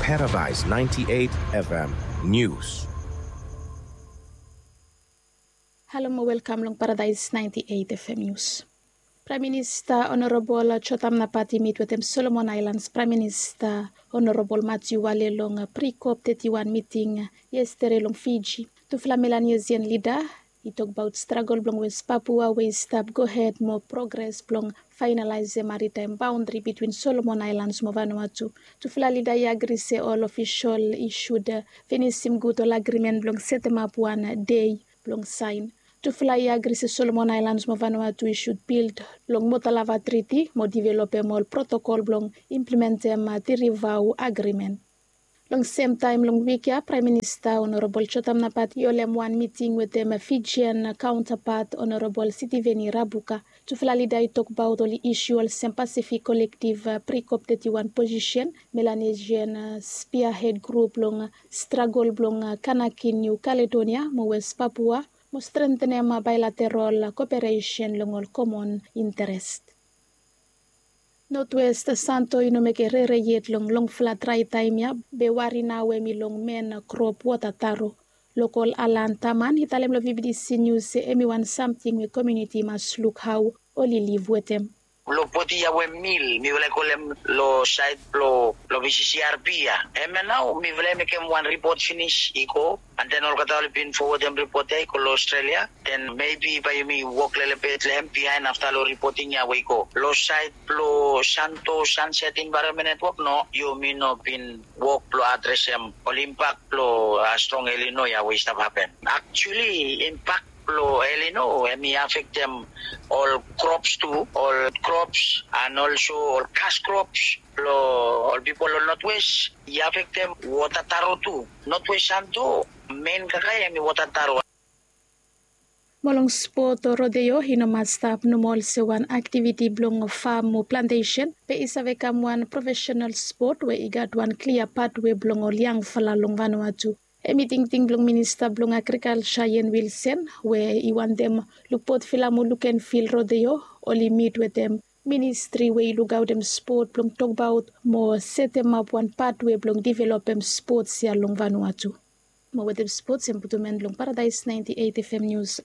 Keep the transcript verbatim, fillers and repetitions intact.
Paradise ninety-eight F M News. Halo mo welkam long Paradise ninety-eight F M News. Praem Minista Honorabol Jotam Napat i mit wetem Solomon Aelans Praem Minista Honorabol Matiu Wale long Pre-COP thirty-one miting yestede long Fiji. Tufala Melanesian lida i tokbaot stragol blong Wes Papua we i stap gohed mo progres blong faenalaesem maritaem baondri bitwin Solomon Aelans mo Vanuatu. Tufala lida i agri se ol ofisol i sud finisim gud ol agrimen blong setemap wan dei blong saen. Tufala i agri se Solomon Aelans mo Vanuatu i sud bil long Motalava Triti mo developem ol protokol blong implementem Tirivau Agrimen. Long semtaem long wik ya Praem Minista Honorabol Jotam Napat i holem wan miting wetem Fijian kaontapat Honorabol Sitiveni Rabuka. Tufala lida i tokbaot ol isu olsem Pasifik Kolektiv Pre-COP thirty-one posisen, Melanesian Spearhead Grup long stragol blong Kanaki Niu Kaledonia mo Wes Papua mo strentenem baelaterol koperesen long ol komon interes. Notwest Santo i no mekem rere yet long longfala drae taem ya be wari nao hemi long men krop wota taro. Lokol Alan Taman i talem long V B T C News se hemi wan samting we komuniti i mas luk hao oli liv wetem. Long poti ya we mil mifala i kolem long saed blong long V C C R P ya, hemia nao mifala i mekem wan ripot finis i go. And then olgeta oli bin fowodem ripot ya i go long Australia. Then maybe bae yumi wok lelebet long hem bihaen afta long ripoting ya we i go long saed blong Santo Sunset Environment Network. No, yumi no bin wok blong adresem ol impak blong strong El Nino ya we i stap hapen. Actually impak blong El Nino hemi afektem ol krops tu, ol krops and also ol kas krops blong ol pipol long Notwest. I afektem wota taro tu. Notwest Santo men kakae hemi wota taro. Mo long spot, rodeo i no mas stap nomo olsem wan aktiviti blong fam o plantesen, be i save kam wan profesenal spot we i gat wan klia patwe blong ol yangfala long Vanuatu. Hemi tingting blong Minista blong Agrikalsa Ian Wilson we i wantem Lukpot Filam o Lukenvil rodeo oli mit wetem ministri we i lukaotem spot blong tokbaot mo setemap wan patwe blong developem spots ya long Vanuatu. Mo wetem spots hem putum en long Paradise ninety-eight F M News.